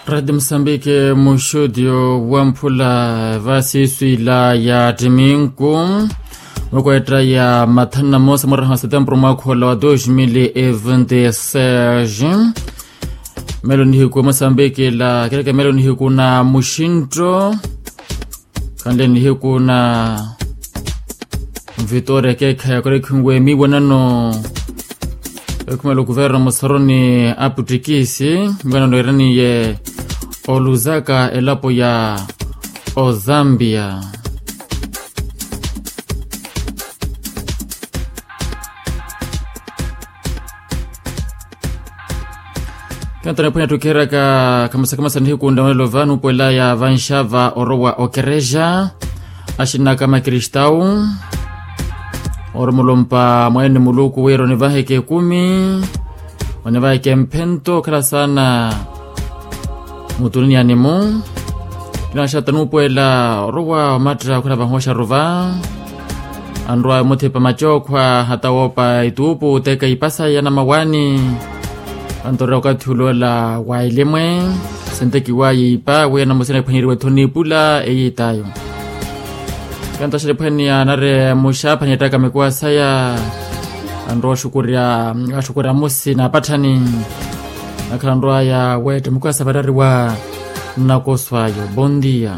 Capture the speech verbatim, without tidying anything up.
Radi musambiki muxutio wamphula vasiiswila ya ttiminku, mukweetta ya mathanu na moosa muraha wa setempuru mwaakhola wa dos mil e vinte e seis. Melo nihiku musambiki la kereke melo nihiku na muxinto. Khanle nihiku na vitoria ekeekhayi ya korekhinwe miiwanano. Ekhumela okuverno musoroni aputtikisi miiwanano eraniye oluzaka elapo ya ozambia. Kentona ephwanya ttukiheraka khamasakhamasa nihiku nda onelo vano upwelaya vanxava orowa okerexa. Axinaka makristau orumulumpa mwaene muluku wira onivaheke ekumi, onivaheke mphento okhala saana mutuniyani-mu. Kinaxata nuupwela orowa omatta okhala vahooxaru va anrwa muthipa macookhwa hata woopa ituupu oteka ipasa ya namawaani. Antorera okathi uloola wa elimwe sintekiwaya ipa wi anamusina ephwanyeriwe ethoni ipula eyiitayo. Kantaxela ephwaniya anare muxaaphani ettaka mikuwa saya. Anrwa oxukurya axukurya amusi na apatthani. Nakhala anrwaya weetta mikuwa sa varariwa. Nnakoswayo bondia.